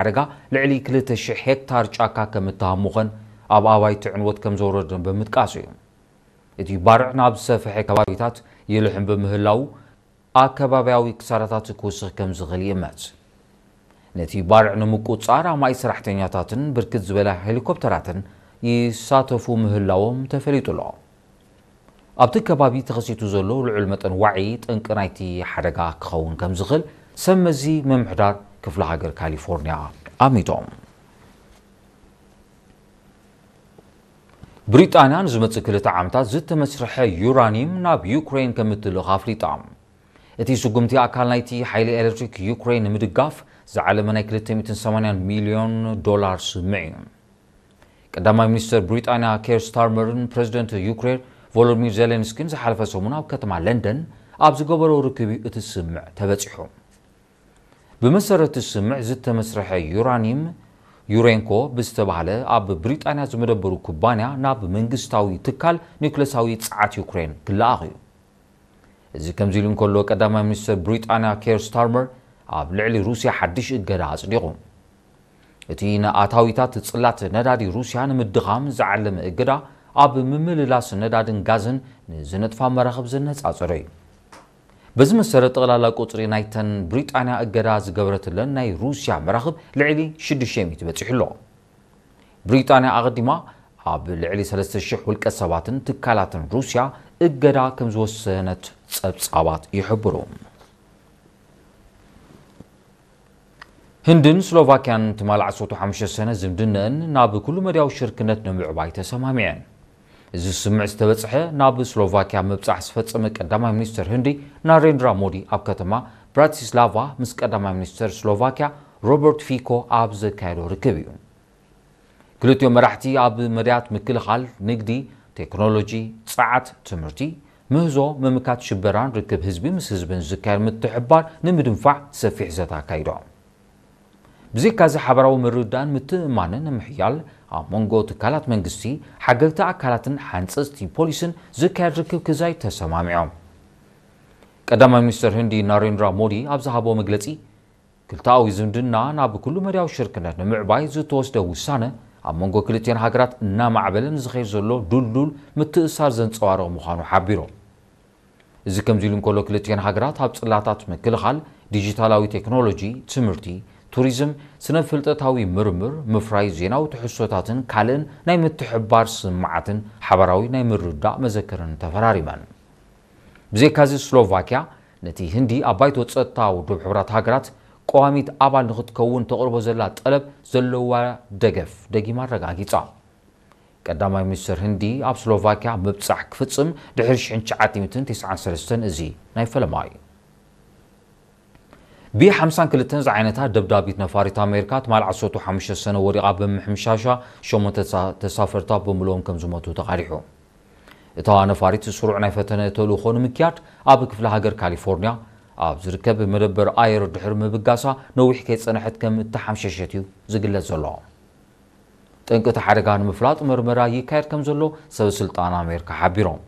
ሓደጋ ልዕሊ ክልተ ሽሕ ሄክታር ጫካ ከም እተሃሙኸን ኣብ ኣባይቲ ዕንወት ከም ዘውረደን ብምጥቃስ እዩ። እቲ ባርዕ ናብ ዝሰፍሐ ከባቢታት ይልሕም ብምህላዉ ኣከባብያዊ ክሳራታት ክውስኽ ከም ዝኽእል ይእመት። ነቲ ባርዕ ንምቁጽጻር ኣማኢት ሰራሕተኛታትን ብርክት ዝበላ ሄሊኮፕተራትን ይሳተፉ ምህላዎም ተፈሊጡ ኣሎ። ኣብቲ ከባቢ ተኸሲቱ ዘሎ ልዑል መጠን ዋዒ ጠንቂ ናይቲ ሓደጋ ክኸውን ከም ዝኽእል ሰብ መዚ ምምሕዳር ክፍለ ሃገር ካሊፎርኒያ ኣሚቶም። ብሪጣንያ ንዝመጽእ ክልተ ዓመታት ዝተመስርሐ ዩራኒየም ናብ ዩክሬን ከም እትልእኽ ኣፍሊጣ። እቲ ስጉምቲ ኣካል ናይቲ ሓይሊ ኤሌክትሪክ ዩክሬን ንምድጋፍ ዝዓለመ ናይ ክልተ ሚእትን ሰማንያን ሚልዮን ዶላር ስምምዕ እዩ። ቀዳማይ ሚኒስትር ብሪጣንያ ኬር ስታርመርን ፕረዚደንት ዩክሬን ቮሎዲሚር ዜሌንስኪን ዝሓለፈ ሰሙን ኣብ ከተማ ለንደን ኣብ ዝገበሮ ርክብ እዩ እቲ ስምምዕ ተበጺሑ። ብመሰረት እቲ ስምምዕ ዝተመስርሐ ዩራኒየም ዩሬንኮ ብዝተባህለ ኣብ ብሪጣንያ ዝመደበሩ ኩባንያ ናብ መንግስታዊ ትካል ኒውክለሳዊ ጸዓት ዩክሬን ክለኣኽ እዩ። እዚ ከምዚ ኢሉ እንከሎ ቀዳማይ ሚኒስትር ብሪጣንያ ኬር ስታርመር ኣብ ልዕሊ ሩስያ ሓድሽ እገዳ ኣጽዲቑ። እቲ ንኣታዊታት ጽላት ነዳዲ ሩስያ ንምድኻም ዝዓለመ እገዳ ኣብ ምምልላስ ነዳድን ጋዝን ንዝነጥፋ መራኽብ ዘነጻጸረ እዩ። በዚ መሰረት ጠቕላላ ቁጽሪ ናይተን ብሪጣንያ እገዳ ዝገበረትለን ናይ ሩስያ መራኽብ ልዕሊ ሽዱሽተ ሚእቲ በጺሑ ኣሎ። ብሪጣንያ ኣቐዲማ ኣብ ልዕሊ ሰለስተ ሽሕ ውልቀ ሰባትን ትካላትን ሩስያ እገዳ ከም ዝወሰነት ጸብጻባት ይሕብሩ። ህንድን ስሎቫክያን ትማል ዓሰርተ ሓሙሽተ ሰነ ዝምድነአን ናብ ኩሉ መድያዊ ሽርክነት ንምዕባይ ተሰማሚዐን። እዚ ስምምዕ ዝተበጽሐ ናብ ስሎቫክያ ምብጻሕ ዝፈጸመ ቀዳማይ ሚኒስትር ህንዲ ናሬንድራ ሞዲ ኣብ ከተማ ብራቲስላቫ ምስ ቀዳማይ ሚኒስትር ስሎቫክያ ሮበርት ፊኮ ኣብ ዘካየዶ ርክብ እዩ። ክልቲኦም መራሕቲ ኣብ መድያት ምክልኻል፣ ንግዲ፣ ቴክኖሎጂ፣ ጸዓት፣ ትምህርቲ፣ ምህዞ፣ ምምካት ሽበራን ርክብ ህዝቢ ምስ ህዝብን ዝካየድ ምትሕብባር ንምድንፋዕ ሰፊሕ ዘተ ኣካይዶም። ብዘይካዚ ሓበራዊ ምርድዳእን ምትእምማንን ንምሕያል ኣብ መንጎ ትካላት መንግስቲ፣ ሓገግቲ ኣካላትን ሓንጸጽቲ ፖሊስን ዝካየድ ርክብ ክዛይ ተሰማሚዖም። ቀዳማይ ሚኒስትር ህንዲ ናሬንድራ ሞዲ ኣብ ዝሃቦ መግለጺ፣ ክልተኣዊ ዝምድና ናብ ኩሉ መድያዊ ሽርክነት ንምዕባይ ዝተወስደ ውሳነ ኣብ መንጎ ክልቲኤን ሃገራት እናማዕበለ ንዝኸይድ ዘሎ ድልዱል ምትእስሳር ዘንጸባርቕ ምዃኑ ሓቢሮም። እዚ ከምዚ ኢሉ እንከሎ ክልቲኤን ሃገራት ኣብ ጽላታት ምክልኻል፣ ዲጂታላዊ ቴክኖሎጂ፣ ትምህርቲ፣ ቱሪዝም፣ ስነ ፍልጠታዊ ምርምር፣ ምፍራይ ዜናዊ ትሕዝቶታትን ካልእን ናይ ምትሕብባር ስምዓትን ሓባራዊ ናይ ምርዳእ መዘክርን ተፈራሪመን። ብዘይካዚ ስሎቫክያ ነቲ ህንዲ ኣብ ባይቶ ጸጥታ ውድብ ሕቡራት ሃገራት ቀዋሚት ኣባል ንኽትከውን ተቕርቦ ዘላ ጠለብ ዘለዋ ደገፍ ደጊማ ኣረጋጊጻ። ቀዳማይ ሚኒስትር ህንዲ ኣብ ስሎቫክያ ምብጻሕ ክፍጽም ድሕሪ ሽሕን ትሽዓተ ሚእትን ተስዓን ሰለስተን እዚ ናይ ፈለማ እዩ። ቢ ሓምሳን ክልተን ዝዓይነታ ደብዳቢት ነፋሪት ኣሜሪካ ትማል ዓሰርተ ሓሙሽተ ሰነ ወዲቓ ብምሕምሻሻ ሸሞንተ ተሳ-፣ ተሳፈርታ ብምልኦም ከም ዝሞቱ ተቓሊሑ። እታ ነፋሪት ስሩዕ ናይ ፈተነ ተልእኾ ንምክያድ ኣብ ክፍለ ሃገር ካሊፎርኒያ ኣብ ዝርከብ መደበር ኣየር ድሕሪ ምብጋሳ ነዊሕ ከይጸንሐት ከም እተሓምሸሸት እዩ ዝግለጽ ዘሎ። ጠንቂ እቲ ሓደጋ ንምፍላጥ መርመራ ይካየድ ከም ዘሎ ሰብ ስልጣን ኣሜሪካ ሓቢሮም።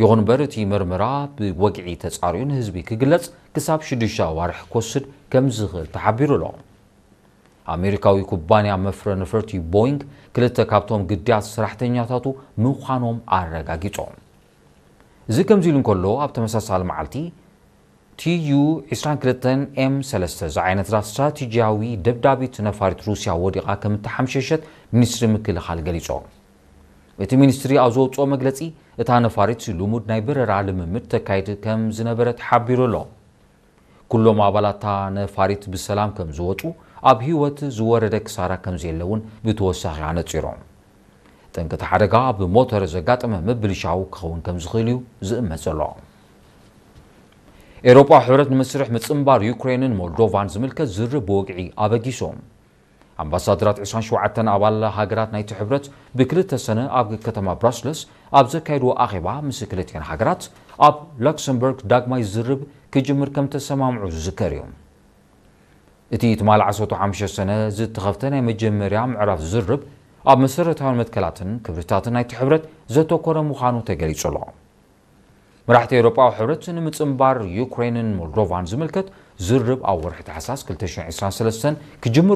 ይኹን እምበር እቲ መርመራ ብወግዒ ተጻርዩ ንህዝቢ ክግለጽ ክሳብ ሽዱሽተ ኣዋርሕ ክወስድ ከም ዝኽእል ተሓቢሩ ኣሎ። ኣሜሪካዊ ኩባንያ መፍረ ነፈርቲ ቦይንግ ክልተ ካብቶም ግዳያት ሰራሕተኛታቱ ምዃኖም ኣረጋጊጾም። እዚ ከምዚ ኢሉ እንከሎ ኣብ ተመሳሳሊ መዓልቲ ቲ ዩ ዕስራን ክልተን ኤም ሰለስተ ዝዓይነታ ስትራቴጂያዊ ደብዳቢት ነፋሪት ሩስያ ወዲቓ ከም እተሓምሸሸት ሚኒስትሪ ምክልኻል ገሊጾም። እቲ ሚኒስትሪ ኣብ ዘውጽኦ መግለጺ እታ ነፋሪት ልሙድ ናይ በረራ ልምምድ ተካይድ ከም ዝነበረ ተሓቢሩ ኣሎ። ኩሎም ኣባላት እታ ነፋሪት ብሰላም ከም ዝወጹ፣ ኣብ ህይወት ዝወረደ ክሳራ ከም ዘየለ እውን ብተወሳኺ ኣነጺሮም። ጠንቂ እቲ ሓደጋ ኣብ ሞተር ዘጋጠመ ምብልሻው ክኸውን ከም ዝኽእል እዩ ዝእመት ዘሎ። ኤውሮጳዊ ሕብረት ንመስርሕ ምጽንባር ዩክሬንን ሞልዶቫን ዝምልከት ዝርርብ ብወግዒ ኣበጊሶም። ኣምባሳደራት ዕስራን ሸውዓተን ኣባል ሃገራት ናይቲ ሕብረት ብክልተ ሰነ ኣብ ከተማ ብራስለስ ኣብ ዘካየድዎ ኣኼባ ምስ ክልቲኤን ሃገራት ኣብ ላክሰምበርግ ዳግማይ ዝርርብ ክጅምር ከም ተሰማምዑ ዝዝከር እዩ። እቲ ትማል ዓሰርተ ሓሙሽተ ሰነ ዝተኸፍተ ናይ መጀመርያ ምዕራፍ ዝርርብ ኣብ መሰረታውያን መትከላትን ክብርታትን ናይቲ ሕብረት ዘተኮረ ምዃኑ ተገሊጹ ኣሎ። መራሕቲ ኤውሮጳዊ ሕብረት ንምጽንባር ዩክሬንን ሞልዶቫን ዝምልከት ዝርርብ ኣብ ወርሒ ታሕሳስ ክልተ ሽሕን ዕስራን ሰለስተን ክጅምር